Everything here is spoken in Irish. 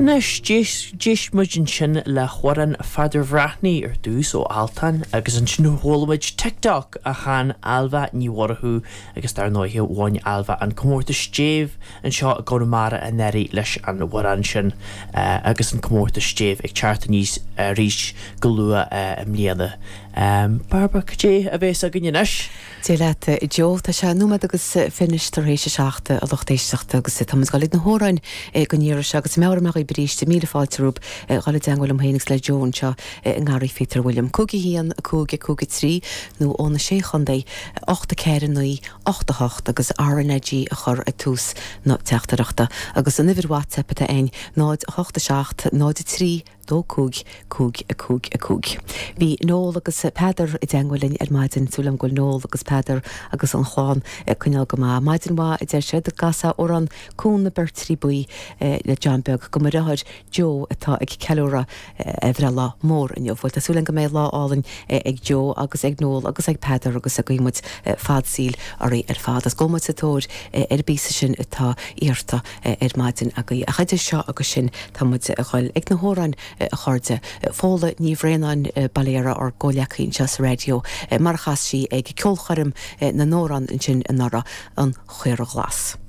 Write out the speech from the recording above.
Anois, d'éist muid ansin le hamhrán Pheadair Bhreathnaigh ar dtús ó Altan agus ansin chuala muid TikTok a chan Ailbhe Ní Mhurchú agus dar ndóighe bhain Ailbhe an comórtas stéibh anseo i gConamara anuraidh leis an amhrán sin agus an comórtas stéibh ag teacht aníos arís go luath i mbliana. Bairbre, cad é a bhéas againn anois? Dia leat, a Joe. Tá sé nóiméad agus fiche tar éis a 7, a lucht éisteachta, agus tá muid ag dul ag na hamhráin don iarraidh seo agus meabhraigh mé dhaoibh arís, míle fáilte romhaibh a dhul i dteangmháil liom féin agus le Joe anseo i nGarraí Phíotair William. 5 1 5 5 3 nó ó na Sé Chontae 8 4 9 8 8 agus RnaG a chur ag tús na teachtaireachta. Agus an uimhir WhatsApp atá againn 0 8 7 0 3 2 5 5 5 5. Bhí Noel agus Peadar i dteangmháil linn ar maidin. Súil agam go bhfuil Noel agus Peadar agus an chlann ag coinneáil go maith. Maidin mhaith, a deir siad. An gcasfá amhrán Cuan na Beirtrí Buí le John Beag do mo dheartháir Joe atá ag ceiliúradh a bhreithlá mór inniu. Bhuel, tá súil agam go mbeidh lá álainn ag Joe agus ag Noel agus ag Peadar agus guíonn muid fad saoil oraibh ar fad. Agus gabhfaidh muid sa tóir ar an bpíosa sin atá iarrta. ar maidin agaibh. Ach idir seo agus sin, tá muid a dhul ag na hamhráin, a chairde. Fódhla Ní Bhraonáin, Baile Dhéire, ár gcomhleacaí anseo sa raidió, mar a chas sí ag ceolchoirm na n-amhrán ansin anuraidh, An Chaora Ghlas.